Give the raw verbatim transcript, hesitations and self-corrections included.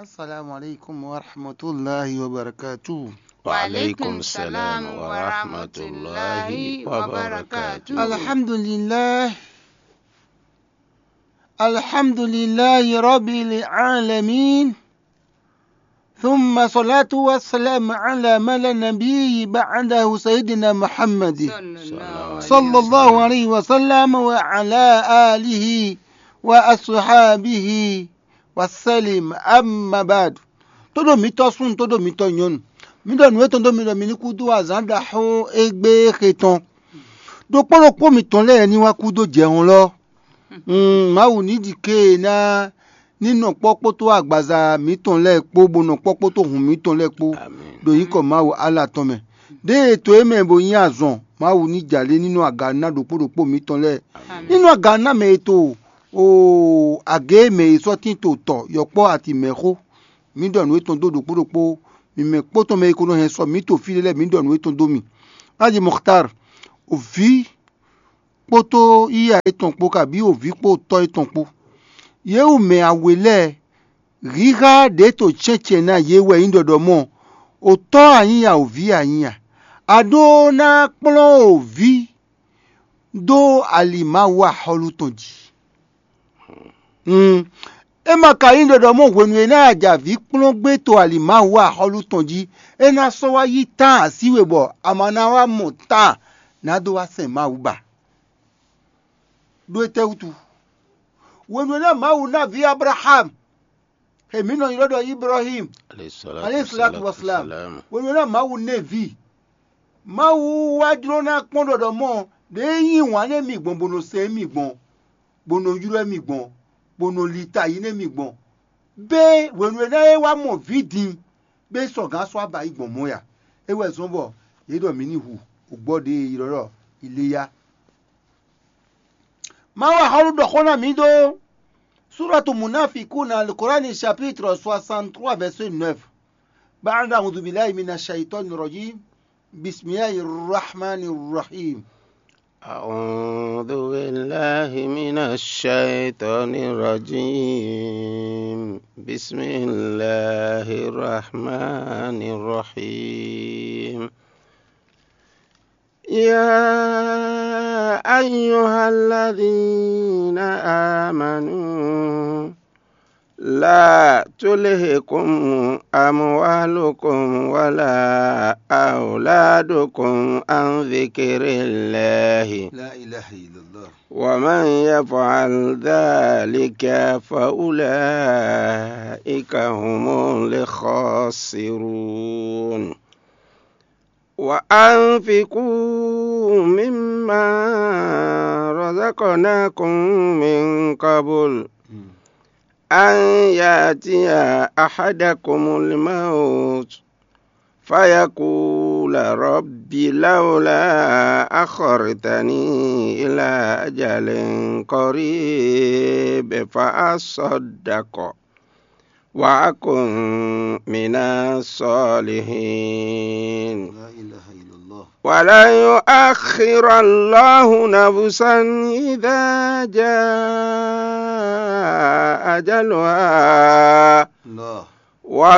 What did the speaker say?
السلام عليكم ورحمة الله وبركاته. وعليكم السلام ورحمة الله وبركاته. الحمد لله. الحمد لله رب العالمين. ثم صلاة والسلام على من لا نبي بعده سيدنا محمد صلى الله عليه وسلم وعلى آله وأصحابه وسلم. أما بعد. Tóɖo mǐtɔn súnnu, tóɖo mǐtɔn nyɔ̌nu, mǐ ɖɔ nǔ étɔn dó mi ɖɔ mi ní kú dó azǎn ɖaxó égbé xe tɔn. Ɖokpó ɖokpó mǐtɔn lɛ́ɛ ní wá kú dó jɛhɔn lɔ. Mawu ní ɖi ké e ná ní nɔ kpɔ́ kpódó agbaza mǐtɔn lɛ́ɛ kpó, bó nɔ kpɔ́ kpódó hǔn mǐtɔn lɛ́ɛ kpó ɖo nyǐkɔ Mawu Allah tɔn mɛ. Ɖěe to e mɛ bo nyí azɔn, Mawu ní jǎ lé ní nɔ aga ná ɖokpó ɖokpó mǐtɔn lɛ́ɛ. Ní nɔ aga ná mɛ e to o agě e mɛ e sɔ́ tín to tɔ yɔkpɔ́ ati mɛ xó. Mǐ ɖɔ nǔ étɔn dó ɖokpó ɖokpó, mǐ mɛ kpó tɔn mɛ e ko nɔ hɛn sɔ mǐ to fí ɖé lɛ́ɛ, mǐ ɖɔ nǔ étɔn dó mì. Haji Muxtar, o vǐ kpódó yíyá étɔn kpó, kabí o vǐ kpó tɔ́ étɔn kpó. Yě wú mɛ awe lɛ́ɛ, híhá ɖě to cɛ́ncɛ́n ná yě wɛ nyí ɖɔɖɔ mɔ, o tɔ́ anyínya, o vǐ anyínya. A ɖó ná kplɔ́n o vǐ dó ali Mawu axɔ́lú tɔn jí. Mm. É ma ka nyí ɖɔɖɔ mɔ hwenu e ná ja vǐ kplɔ́n gbé to ali Mawu axɔ́lú tɔn jí, é ná sɔ́ wá yí tán así we bɔ a ma ná wá mɔ tán ná dó wá sɛn Mawu ba. Ɖó étɛ́ wútu? Hwenu e ná Mawu ná vǐ Ablaham, e mǐ nɔ ylɔ́ ɖɔ Ibrahim, aleyhi salatu wasalam, hwenu e ná Mawu ná ɛ vǐ, Mawu wá jló ná kpɔ́n ɖɔɖɔ mɔ ɖě nyí wǎn nú mì gbɔn bó nɔ sɛn mì gbɔn, bó nɔ ylɔ́ mì gbɔn, bó nɔ li ta yi nú mì gbɔn. Bé hwenu e ná é wá mɔ vǐ din, bé sɔgǎn sɔ́ aba yi gbɔn mɔ̌ ya. É wɛ zɔ́n bɔ yě ɖɔ mǐ ní hu ògbɔ ɖě e è ylɔ́ ɖɔ Iléyá. Mawu axɔ́lú ɖɔ xó ná mǐ ɖó Suratu Munafikun, Al-Qur'an chapitre soixante-trois verset neuf. بعد أعوذ بالله من الشيطان الرجيم. بسم الله الرحمن الرحيم. أعوذ بالله من الشيطان الرجيم. بسم الله الرحمن الرحيم. يا أيها الذين آمنوا لا تلهكم أموالكم ولا أولادكم عن ذكر الله. لا إله إلا الله. ومن يفعل ذلك فأولئك هم الخاسرون. وأنفقوا مما رزقناكم من قبل أن يأتي أحدكم الموت فيقول رب لولا أخرتني إلى أجل قريب فأصدق وأكن من الصالحين. لا إله إلا الله. ولن يؤخر الله نفسا إذا جاء أجلها. الله. والله